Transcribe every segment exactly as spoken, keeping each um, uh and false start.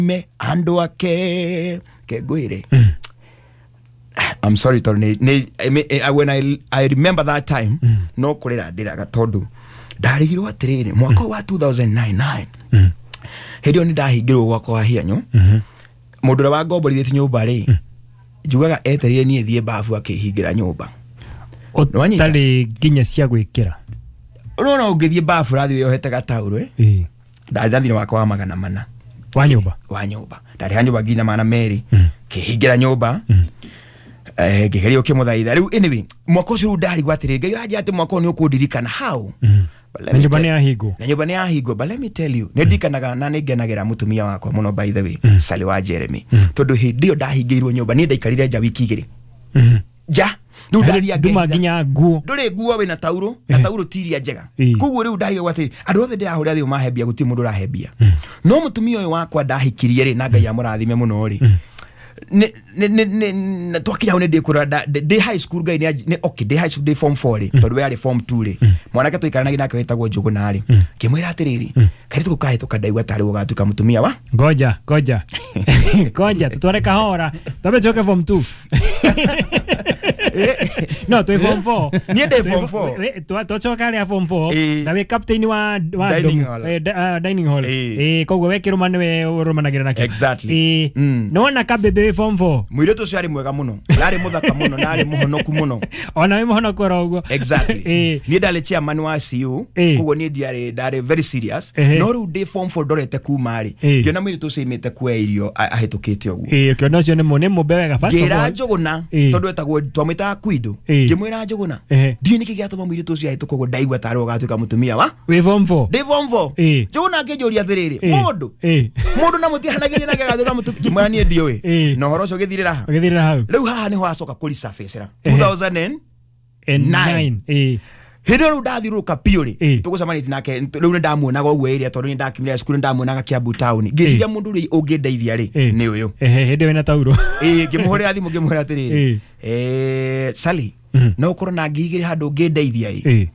Me andũ ake kengwĩre, I'm sorry, tondũ nĩ- nĩ- I mean, eh, when I, I remember that time, no kũrĩra ndĩraga, tondũ ndarigirwo atĩrĩrĩ, mwaka wa two thousand nine hĩndĩ ĩyo nĩ ndahingĩrwo gwakwa wa hianyo. Mũndũ ũrĩa wangomborithĩtie nyũmba rĩ, njugaga etereire niĩ thiĩ babu akĩhingĩra nyũmba. Nĩwanyita? Ũtarĩ nginya cia gwĩkĩra. Ũrona ũngĩthiĩ babu ũrathiĩ wĩyohete gataurũ, eh? Ĩĩ. Ndarĩ na thirĩ wakwa wa magana mana. Wa nyũmba. Wa nyũmba. Ndarĩha nyũmba nginya magana merĩ, kĩhingĩra nyũmba, eh, ngĩgeria ũkĩmũthaitha. Rĩu anyway, mwaka ũcio rĩu ndarigwo atĩrĩrĩ, Ngai ũranjĩra atĩ mwaka ũyũ nĩ ũkũndirikana how? But let Na me nyũmba tell- nĩ yahingwo. Na nyũmba nĩ yahingwo. But let me tell you, nĩ ndirikanaga na nĩ ngenagĩra mũtumia wakwa mũno, by the way, Sally wa Jeremy, tondũ hĩndĩ ĩyo ndahingĩirwo nyũmba, niĩ ndaikarire nja wiki igĩrĩ nja. Rĩu ndathiĩ nduma ngehitha. Nginya nguo. Ndũrĩ nguo, wĩna taurũ na Eh. taurũ ti iria njega. Ĩĩ. Koguo rĩu ndarigagwo atĩrĩ, andũ othe ndĩrahũrĩra thimũ mahembia, gũtirĩ mũndũ ũrahembia. No mũtumia ũyũ wakwa ndahikirie rĩ, na Ngai amũrathime mũno rĩ, nĩ- nĩ- nĩ- nĩ- na twakinya hau nĩ ndĩkũrora nda- ndĩ ndĩ high school, Ngai nĩ anj- nĩ okay, ndĩ high school, ndĩ form four rĩ, tondũ we arĩ form two rĩ, mwanake tũikaranagia nake wĩtagwo Njũgũna rĩ, ngĩmwĩra atĩrĩrĩ, kairĩtu kau kahĩtũka, ndaigua tarĩ gũgatuĩka mũtumia wa Ngoja, ngoja, ngoja, tutware kahora, twambe tucoke form two. No twĩ form four. Niĩ ndĩ form four. Twacoka rĩa form four. Ĩĩ. Na wĩ captain wa wa Dining dorm. hall. Eh, da- ah, dining hall. Ĩĩ. Ĩĩ, koguo we kĩrũma nĩwe ũrũmanagĩra nakĩo. Exactly. Ĩĩ. Mm. Nĩwona kabebe wĩ form four. Mũirĩtu ũcio arĩ mwega mũno, na arĩ mũthaka mũno, na arĩ mũhonoku mũno. Ona wĩ mũhonoku oro ũguo. Exactly. Ĩĩ. Niĩ ndarĩ chairman wa C U. Ĩĩ. Koguo niĩ ndiarĩ, ndarĩ very serious. Ehe. No rĩu ndĩ form four, ndorete kuma rĩ, Ĩĩ. ngĩona mũirĩtu ũcio aimĩte kuoya irio a- ahĩtũkĩte ũguo. Ĩĩ, ũkĩona ũcio nĩ mũ- nĩ mũmbe wega, first of Ngĩra all. Njũgũna, Ĩĩ. tondũ etagwo, twamwĩtaga Kwindo. Ĩĩ. Ngĩmwĩra, "Njũgũna, Ehe. ndiũĩ nĩkĩ gĩatũma mũirĩtu ũcio ahĩtũka ũguo, ndaigua tarĩ ũgatuĩka mũtumia wa Wĩ form four. Ndĩ form four." Ĩĩ. Njũgũna akĩnjũria atĩrĩrĩ, Ĩĩ. mũndũ Ĩĩ. mũndũ na mũtihanagĩria nake agatuĩka mũtumia? Ngĩmwĩra, "Niĩ ndiũĩ." Ĩĩ. Na ũhoro ũcio ũgĩthirĩra ha. Ũgĩthirĩra hau. Rĩu haha nĩho acoka kũresurface-ra Ehe. two thousand and And Nine. nine. Ĩĩ. Hĩndĩ ĩyo rĩu ndathiũrũrũka biũ rĩ, Ĩĩ. tũgũcemanĩtie nake rĩu nĩ ndamuonaga ũguo area, tondũ nĩ ndakiumire cukuru, nĩ ndamuonaga Kiambu town. Ngĩciria mũndũ ũrĩa ũngĩndeithia rĩ, Ĩĩ. nĩ ũyũ. Ehe, hĩndĩ ĩyo wĩna tauro. Ĩĩ, ngĩmũhũrĩra thimũ, ngĩmwĩra atĩrĩrĩ, Ĩĩ. eh, Sally, Mhm. no ũkorwo na ngiri igĩrĩ handũ ũngĩndeithia ĩ? Ĩĩ.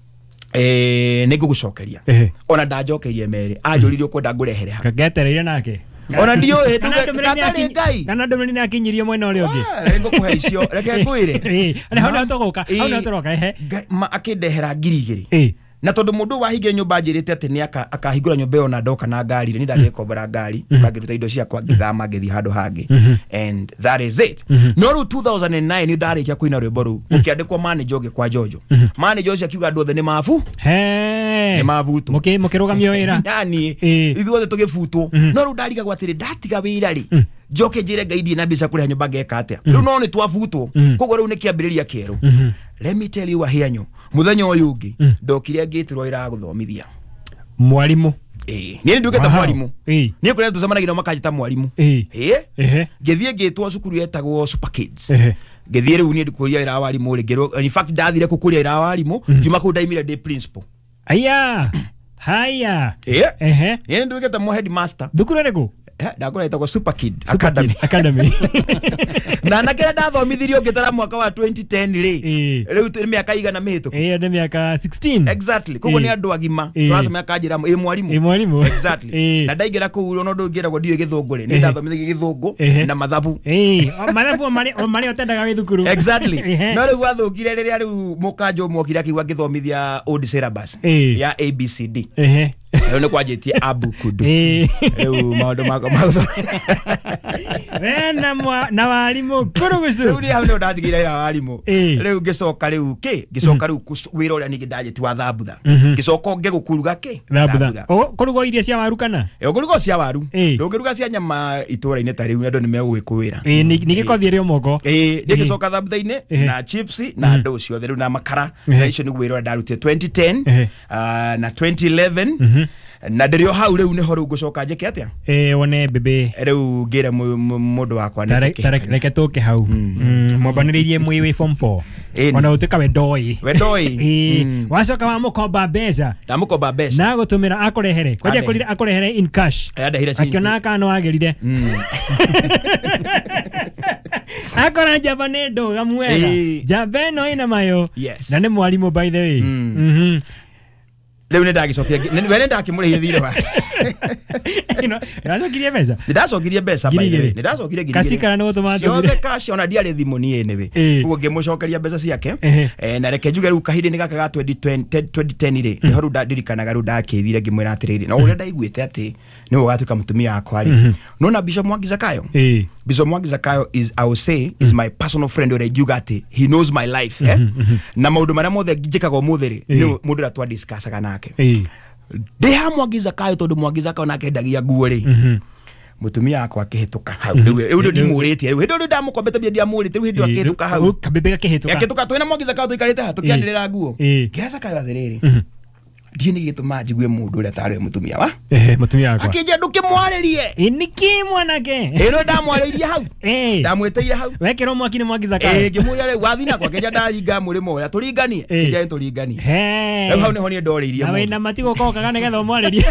Eh, nĩ ngũgũcokeria. Ehe. Ona ndanjokeirie merĩ, anjũririe, "Ũkwenda ngũrehere ha?" Kagetereire nake. Ona ndiũĩ. Kana ndũmĩrĩri nĩ gatarĩ akinyi- Ngai. Kana ndũmĩrĩri nĩ akinyirie mwena ũrĩa ũngĩ. Ah, nĩ ngũkũhe icio, reke ngwĩre. Ĩĩ, hau nĩho tũgũka, hau nĩho Ĩĩ. tũroka, ehe. Ngai- ma- akĩndehera ngiri igĩrĩ. Ĩĩ. Na tondũ mũndũ ũyũ wahingire nyũmba anjĩrĩte atĩ nĩ aka- akahingũra nyũmba ĩyo na ndoka na ngari rĩ, nĩ ndathiĩ kombora ngari, ngakĩruta indo ciakwa, ngĩthama, ngĩthiĩ handũ hangĩ, and that is it. No rĩu two thousand and nine nĩ ndarĩkia kũina rwĩmbo rũu, gũkĩandĩkwo manager ũngĩ kwa Jojo. Manager ũcio akiuga andũ othe nĩ mabu He. nĩ mabutwo. Mũkĩ- mũkĩrũgamio wĩra. Yani Ĩĩ. ithuothe tũgĩbutwo. No rĩu ndarigagwo atĩrĩ, ndatiga wĩra rĩ, njoke njĩre Ngai ndirĩ na mbeca kũrĩha nyũmba, ngeka atĩa rĩu? No nĩ twabutwo, koguo rĩu nĩ kĩambĩrĩria kĩerũ. Let me tell you, Wahianyo, mũthenya ũyũ ũngĩ ndokire ngĩtĩrwo wĩra wa gũthomithia. Mwarimũ. Ĩĩ, niĩ nĩ nduĩkĩte Wow. mwarimũ. Ĩĩ. Niĩ kũrĩa tũcemanagia nao makanjĩta mwarimũ. Ĩĩ. Ĩĩ. Ehe. Ngĩthiĩ ngĩtwo cukuru yetagwo Super Kids. Ehe. Ngĩthiĩ rĩu niĩ kũria wĩra wa warimũ rĩ, ngĩrwo, in fact ndathire kũkũria wĩra wa warimũ, ngiuma kũu ndaimire ndĩ principal. Aya, haya. Ĩĩ. Ehe. Niĩ nĩ nduĩkĩte mo headmaster. Thukuru ĩrĩkũ? Eh, ndakũra ĩtagwo Super Kid Super Academy. Kid Academy. Na anake arĩa ndathomithirio ngĩtara mwaka wa twenty ten rĩ, Ĩĩ. rĩu nĩ mĩaka igana mĩhĩtũku. Ĩyo nĩ mĩaka sixteen. Exactly, koguo Ĩĩ. nĩ andũ agima. Ĩĩ. Tũracemania kanjĩra, "Ĩ mwarimũ." Ĩ mwarimũ. Exactly. Ĩĩ. Na ndaingĩra kũu, ona ũndũ ngĩragwo ndiũĩ gĩthũngũ rĩ, nĩ Ĩhĩ. ndathomithagia gĩthũngũ Ĩhĩ. na mathabu. Ĩĩ, o mathabu o marĩa o marĩa ũtendaga wĩ thukuru. Exactly. Ehe. No rĩu gwathũkire rĩrĩa rĩu mũkanjũ mokire akiuga ngĩthomithia old syllabus Ĩĩ. ya A B C D. Ehe. Rĩu nĩ kwanjĩtie abukudu. Ĩĩ. Rĩu maũndũ makwa ma We na mwa- na warimũ kurugucu. Rĩu niĩ hau nĩho ndatigĩire wĩra wa warimũ. Ĩĩ. Rĩu ngĩcoka rĩu kĩ ngĩcoka rĩu kũc- wĩra ũrĩa ningĩ ndanjĩti wa thambutha, ngĩcoka ũngĩ gũkuruga kĩ. Thambutha. O kũruga irio cia waru kana? Ĩ, ũkũruga cia waru. Ĩĩ. Ndũngĩruga cia nyama itũra-inĩ ta rĩu, andũ nĩ megũgĩkũĩra. Ĩĩ, nĩ nĩ gĩkothi ĩrĩ o moko. Ĩĩ, ngĩgĩcoka thambutha-inĩ Ĩhĩ. na chips na ndũ ciothe rĩu na makara. Ĩhĩ. Na icio nĩguo wĩra ũrĩa ndarutire twenty ten Ĩhĩ. ah, na twenty eleven, na ndĩrĩ o hau. Rĩu nĩho rĩu ngũcoka njĩke atĩa? Ĩĩ, wone bebe. Rĩu ngĩre mũ- mũ- mũndũ wakwa nĩ Tare- tare- tũkĩhikania. Reke tũke hau. Mm, mwambanĩrĩirie mwĩ wĩ form four. Ĩni. Ona ũtuĩka we ndoĩ. We ndoĩ. Ĩĩ, wacoka wamũkomba mbeca. Ndamũkomba mbeca. Na gũtũmĩra akũrehere kwanja. Andehere. Akorire akũrehere in cash. Andehire ciringi. Akĩona kana no agĩrire, akora njamba nĩ ndũgamu wega. Ĩĩ. Njamba ĩno ĩna mayo. Yes. Na nĩ mwarimũ, by the way. Mhm. Rĩu nĩ ndagĩcokia we nĩ ndakĩmũrĩhia thirĩ wake. Nĩwacokirie mbeca? Nĩ ndacokirie mbeca by the way. Nĩ ndacokirie ngiri igĩrĩ. Kacikara nĩ gũtũma ciothe cash ona ndiarĩ thimũ niĩ anyway. Koguo ngĩmũcokeria mbeca ciake. Eh, na reke njuge rĩu kahinda-inĩ gaka ga twenty ten rĩ nĩho rĩu ndirikanaga rĩu ndakĩthire ngĩmwĩra atĩrĩrĩ na ũrĩa ndaiguĩte atĩ nĩwe ũgatuĩka mũtumia wakwa rĩ nona Bishop Mwangi Zakayo. Bishop Mwangi Zakayo is, I will say, is my personal friend ũrĩa ingiuga atĩ he knows my life, eh? Na maũndũ marĩa mothe njĩkaga ũmũthĩ rĩ nĩ mũndũ ũrĩa twadiscussaga nake. Ndĩ ha Mwangi Zakayo tondũ Mwangi Zakayo nake endagia nguo rĩ mutumia wakwa akĩhĩtũka hau rĩu rĩu ndimũrĩtie rĩu hĩndĩ ĩyo ndamũkombete mbia ndiamũrĩte rĩu hĩndĩ ĩyo akĩhĩtũka hau kabebe gakĩhĩtũka akĩhĩtũka twĩna Mwangi Zakayo tũikarĩte haha tũkĩanĩrĩra nguo ngĩra Zakayo atĩrĩrĩ ndiĩ nĩ gĩtũma njigue mũndũ ũrĩa tarĩ mũtumia wa eh mũtumia wakwa akĩnjia ndũkĩmwarĩrie ĩ nĩkĩ mwanake ĩno ndamwarĩirie hau ndamwĩtĩire hau wekĩrwo mwaki nĩ Mwangi Zakayo ĩ ngĩmũria rĩu wathi nakwa akĩnjia ndaringa mũrĩmo ũrĩa tũringanie akĩnjia nĩ tũringanie rĩu hau nĩho niĩ ndorĩirie na wĩna matigũ kokaga nĩgetha ũmwarĩrie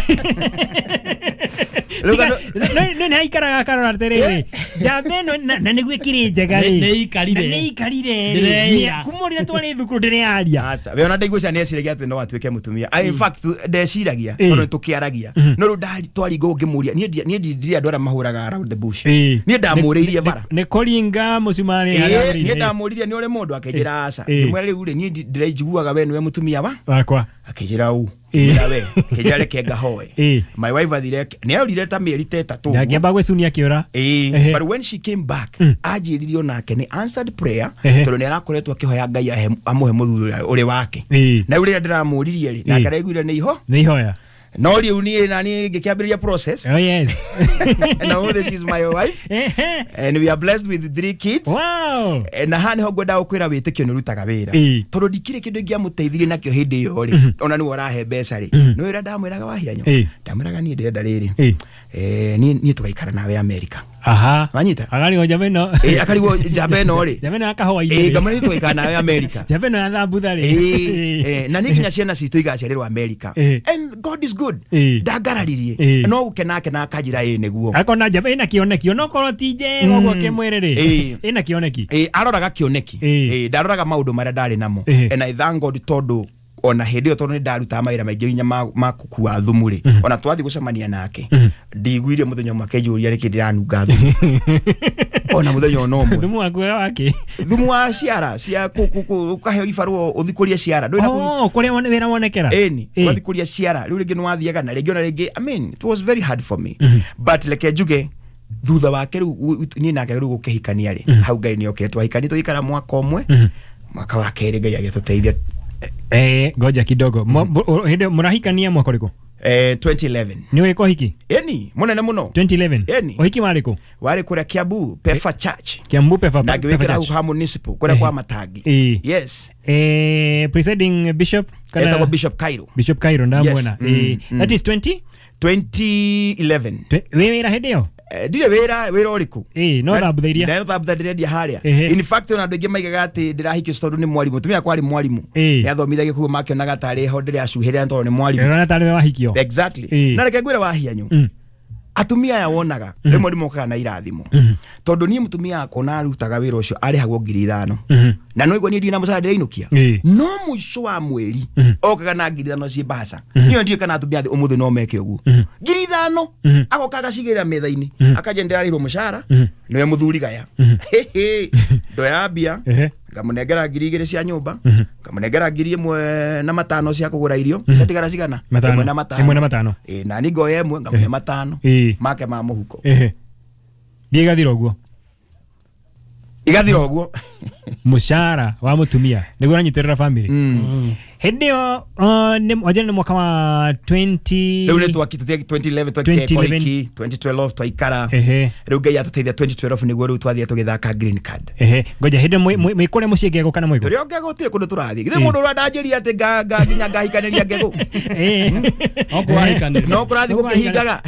nĩ aikaraga akarora atĩrĩrĩ njamba ĩno na nĩguo ĩkĩrĩ njega rĩ nĩ ikarire nĩ ikarire kuma ũrĩa twarĩ thukuru ndĩrearia aca we ona ndaigua cia nĩeciragia atĩ no atuĩke mũtumia in fact ndeciragia tondũ nĩtũkĩaragia no rĩu twaringa ũngĩmũria niĩ niĩ ndirĩ andũ arĩa mahũraga around the bush niĩ ndamũrĩirie bara nĩ kũringa mũcumarĩ niĩ ndamũririe nĩ ũrĩ mũndũ akĩnjĩra aca ngĩmwĩra rĩu rĩ niĩ ndĩraiguaga we nĩwe mũtumia wa wakwa akĩnjĩra ũ we kĩnjĩra reke ngahoe my wife athire nĩ aurire ta mĩeri ta ĩtatũ ngĩamba gwĩcunia akĩũra ĩĩ but when she came back anjĩririe onake nĩ answered prayer tondũ nĩ arakoretwo akĩhoya Ngai amũhe mũthuri ũrĩ wake na rĩu rĩrĩa ndĩramũririe rĩ nake araiguire nĩ iho nĩ ihoya no rĩu niĩ na niĩ ngĩkĩambĩrĩria process. Oh yes. Now this is my wife and we are blessed with three kids. Wow. Na haha nĩho ngwenda gũkwĩra wĩtĩkio nĩ ũrutaga wĩra tondũ ndikĩrĩ kĩndũ ingĩamũteithirie nakĩo hĩndĩ ĩyo rĩ ona nĩwe ũrahe mbeca rĩ nĩ wĩra ndamwĩraga wahianyo ndamwĩraga niĩ ndĩrenda rĩrĩ eh niĩ niĩ tũgaikara nawe America. Aha. Wanyita? Akarigwo njamba ĩno. Eh akarigwo njamba ĩno rĩ. Njamba ĩno ya kahũa-inĩ. Eh ngamwĩra niĩ tũgaikara nawe America. Njamba ĩno ya thambutha rĩ. Eh na niĩ nginya ciana citũ igaciarĩrwo America. And God is good. Ndangararirie. No gũkena akena akanjĩra ĩ nĩguo. Akona njamba ĩna kĩoneki onokorwo ti njega ũguo kĩmwĩrĩ rĩ. Ĩna kĩoneki. Eh aroraga kĩoneki. Eh ndaroraga maũndũ marĩa ndarĩ namo. And I thank God tondũ ona hĩndĩ ĩyo tondũ nĩ ndarutaga mawĩra maingĩ nginya ma gũkua thumu rĩ ona twathiĩ gũcemania nake ndiguire mũthenya ũmwe akĩnjũria rĩkĩ ndĩranunga thumu ona mũthenya ona ũmwe thumu waku wake thumu wa ciara cia ũkaheo ibarũa ũthiĩ kũria ciara oh kũrĩa wĩra wonekera ĩni ũgathiĩ kũria ciara rĩu rĩngĩ nĩ wathiaga na rĩngĩ ona rĩngĩ I mean it was very hard for me but reke njuge thutha wake rĩu niĩ nake rĩu gũkĩhikania rĩ hau Ngai nĩ okire twahikania tũgĩikara mwaka ũmwe mwaka wa kerĩ Ngai agĩtũteithia. Eh, ngoja kidogo. Hĩndĩ mũrahikania mwaka ũrĩkũ? Eh, twenty eleven. Nĩ wĩka ũhiki? Eni, mũnene mũno. twenty eleven. Eni. Ũhiki warĩ kũ? Warĩ kũrĩa Kiambu, Pefa Church. Kiambu Pefa. Na ngĩwĩkĩra hau ha municipal, kũrĩa kwa Matangi. Yes. Eh, presiding bishop kana etagwo Bishop Cairo. Bishop Cairo ndamuona. Eh, that is twenty twenty eleven. Wĩ wĩra hĩndĩ ĩyo? Ndirĩ wĩra wĩra ũrĩkũ ĩĩ no thambutha iria no thambutha ndĩrendia harĩa in fact ona andũ aingĩ maigaga atĩ ndĩrahikio tondũ nĩ mwarimũ mũtumia wakwa arĩ mwarimũ nĩathomithagia koguo makĩonaga tarĩ ho ndĩracuhĩrĩra tondũ nĩ mwarimũ ĩrona tarĩ we wahikio exactly na reke ngwĩre wahianyu atumia aya wonaga rĩmwe nĩ mokaga na irathimo tondũ niĩ mũtumia wakwa na arutaga wĩra ũcio arĩhagwo ngiri ithano na no igua niĩ ndirĩ na mũcara ndĩrainũkia no mũico wa mweri okaga na ngiri ithano ciĩ mbaca niĩ ndiũĩ kana atumia thĩ ũmũthĩ no meke ũguo ngiri ithano agoka agacigĩrĩra metha-inĩ akanjia ndĩrarĩhirwo mũcara nĩwe mũthuri gaya ndoya mbia ngamũnengera ngiri igĩrĩ cia nyũmba ngamũnengera ngiri ĩmwe na matano cia kũgũra irio ciatigara cigana ĩmwe na matano ĩmwe na matano ĩ na niĩ ngoya ĩmwe ngamũhe matano make ma mũhuko mbia igathira ũguo igathira ũguo mũcara wa mũtumia nĩguo ũranyitĩrĩra family hĩndĩ ĩyo wajana nĩ mwaka wa twenty rĩu nĩ twakĩte twenty eleven twakĩte ũhiki twenty twelve twaikara rĩu Ngai atũteithia twenty twelve nĩguo rĩu twathiĩ tũgĩthaka green card ehe ngoja hĩndĩ mwĩ kũrĩa mũciĩ Ngegũ kana mwĩ kũ tũrĩ o Ngegũ gũtirĩ kũndũ tũrathiĩ githĩ mũndũ ũrĩa ndanjĩrire atĩ nginya ngahikanĩria Ngegũ no kũrathiĩ gũkĩhingaga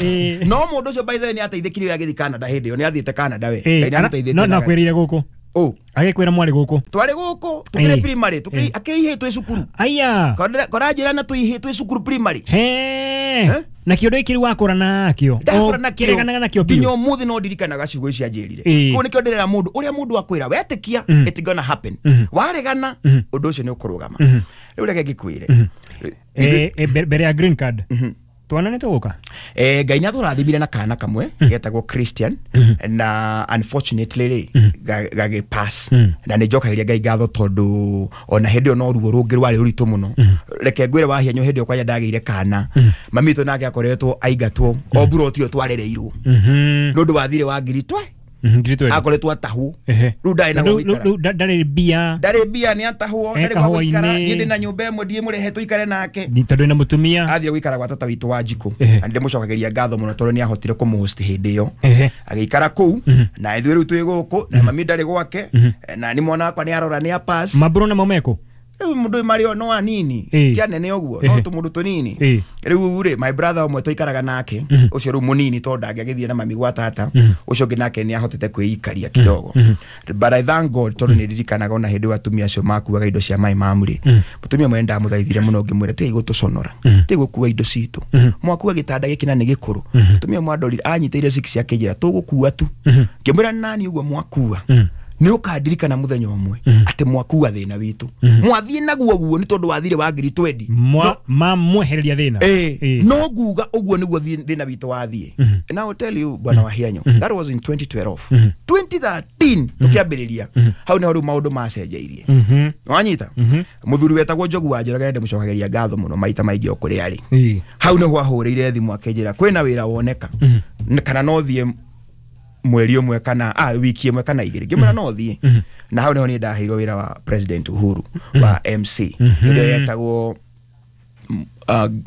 no mũndũ ũcio by the way nĩ ateithĩkire we agĩthiĩ Canada hĩndĩ ĩyo nĩ athiĩte Canada we Ngai nĩ amũteithĩtie no no akwĩrĩire gũkũ Oh, agĩkwĩra mwarĩ gũkũ twarĩ gũkũ tũkĩrĩ primary tũkĩrĩ akĩrĩ ihĩĩ twĩ cukuru aya koranjĩra na twĩ ihĩĩ twĩ cukuru primary he na kĩũndũ gĩkĩ rĩu wakũra nakĩo ndakũra nakĩo kĩreganaga nakĩo biũ nginya ũmũthĩ no ndirikanaga ciugo icio anjĩrire koguo nĩkĩo ndĩrera mũndũ ũrĩa mũndũ akwĩra wetĩkia it gonna happen waregana ũndũ ũcio nĩ ũkũrũgama Rĩu reke ngĩkwĩre. Eh, eh, mbere ya green card twana nĩ tũgũka. Eh, Ngai nĩ atũrathimire na kana kamwe getagwo Christian, na unfortunately rĩ gagĩ pass, na nĩ njokagĩria Ngai ngatho tondũ ona hĩndĩ ĩyo no ruo rũngĩ rwarĩ rũritũ mũno. Reke ngwĩre wahianyo hĩndĩ ĩyo kwanja ndagĩire kana, mami witũ nake akoretwo aingatwo o mburoti ĩyo twarereirwo nĩ ũndũ wa thirĩ wa ngiri twe akoretwo atahwo. Rĩu ndarĩ na gwa gũikara, ndarĩ mbia, ndarĩ mbia, nĩ atahwo, ndarĩ gwa gũikara. Niĩ ndĩ na nyũmba ĩmwe ndiĩmũrehe tũikare nake tondũ ena mũtumia. Athire gũikara gwa tata witũ wa Njikũ, na ndĩmũcokagĩria ngatho mũno tondũ nĩ ahotire kũmũhost hĩndĩ ĩyo agĩikara kũu, na ithuĩ rĩu twĩ gũkũ na mami ndarĩ gwake, na nĩ mwana wakwa nĩ arora nĩ apass. Maburo namo meko rĩu mũndũ marĩ no anini ti anene ũguo, no tũmũndũ tũnini. Rĩu rĩ my brother ũmwe tũikaraga nake ũcio rĩu mũnini tondũ ndangĩagĩthire na mami gwa tata, ũcio ũngĩ nake nĩ ahotete kwĩikaria kidogo. But I thank God tondũ nĩ ndirikanaga ona hĩndĩ ĩyo atumia acio makuaga indo cia my mom rĩ, mũtumia ũmwe ndamũthaithire mũno ngĩmwĩra tigai gũtũconora, tigai gũkua indo citũ, mwakua gĩtanda gĩkĩ na nĩ gĩkũrũ. Mũtumia ũmwe andorire anyitĩire six akĩnjĩra tũgũkua tu. Ngĩmwĩra nani ũguo mwakua nĩ ũkandirikana mũthenya ũmwe atĩ mwakua thĩna witũ, mwathiĩ naguo guo nĩ tondũ wathire wa ngiri twendi mamwehereria thĩna. Eh, no nguga ũguo nĩguo thĩna witũ wathiĩ. And I will tell you bwana Wahianyo, that was in twenty twelve. twenty thirteen tũkĩambĩrĩria hau nĩho rĩu maũndũ macenjeirie. Wanyita mũthuri wetagwo Njogu wa Njoroge ndĩmũcokagĩria ngatho mũno maita maingĩ o kũrĩa arĩ. Hau nĩho ahũrĩire thimũ akĩnjĩra kwĩna wĩra woneka kana no thiĩ mweri ũmwe kana ah wiki ĩmwe kana igĩrĩ. Ngĩmwĩra no thiĩ. Na hau nĩho niĩ ndaheirwo wĩra wa President Uhuru wa M C hĩndĩ ĩyo yetagwo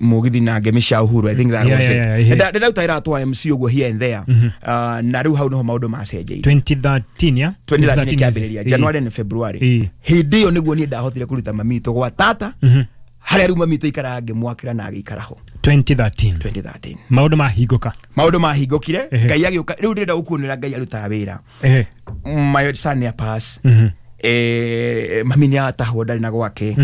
mũgithi na ngemi cia Uhuru, I think that was it. Ndĩrauta wĩra twa M C ũguo here and there. Na rĩu hau nĩho maũndũ macenjeirie. twenty thirteen ya twenty thirteen kĩambĩrĩria January na February. Hĩndĩ ĩyo nĩguo niĩ ndahotire kũruta mami witũ gwa tata harĩa rĩu mami witũ aikaraga ngĩmwakĩra na agĩikara ho. twenty thirteen twenty thirteen maũndũ mahingũka, maũndũ mahingũkire, Ngai agĩũka. Rĩu ndĩrenda gũkuonera Ngai arutaga wĩra. My son nĩ apass, eh mami nĩ atahwo ndarĩ na gwake,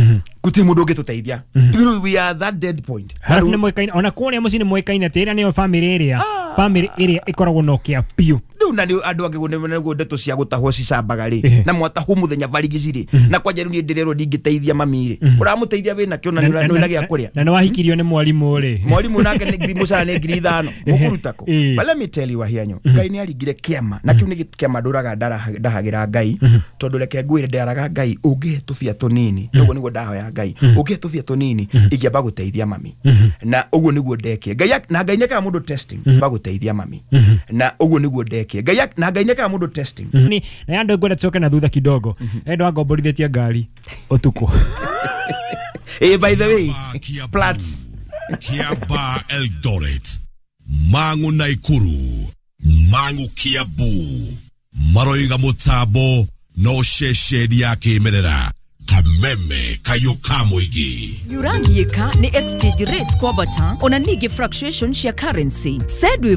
gũtirĩ mũndũ ũngĩtũteithia. Rĩu we are that dead point. Harafu nĩ moĩkaine ona kũrĩa mũciĩ nĩ moĩkaine atĩ ĩrĩa nĩyo family ĩrĩa family ĩrĩa ĩkoragwo na ũkĩa biũ. Rĩu na andũ angĩ nĩguo ndeto cia gũtahwo cicambaga rĩ, na mwatahwo mũthenya barigici rĩ, na kwanja rĩu niĩ ndĩrerwo ndingĩteithia mami rĩ, ũramũteithia wĩna kĩo na nĩ gĩa kũrĩa. Na nĩ wahikirio nĩ mwarimũ rĩ, mwarimũ nake nĩ mũcara nĩ ngiri ithano mũkũruta kũ? But let me tell you Wahianyo, Ngai nĩ aringire kĩama, na kĩu nĩ kĩama ndũraga ndahagĩra Ngai, tondũ reke ngwĩre ndĩaraga Ngai ũngĩhe tũbia tũnini, ũguo nĩguo ndahoya Ngai ũngĩhe tũbia tũnini ingĩamba gũteithia mami, na ũguo nĩguo ndekire. Ngai na Ngai nĩekaga mũndũ testing amba gũteithia mami, na ũguo nĩguo ndekire. Ngai na Ngai nĩekaga mũndũ testing. Ni na andũ ngwenda tucoke na thutha kidogo. Endo angomborithĩtie ngari ũtukũ. Eh, by the way, Plats Kiaba Eldoret, Mangu Naikuru, Mangu Kiambu, maroiga mutambo no ceceni ya kĩmerera Kameme Kayuka Mũingĩ. Nyurangiĩka nĩ exchange rate kwambata ona ningĩ fluctuation cia currency. Said with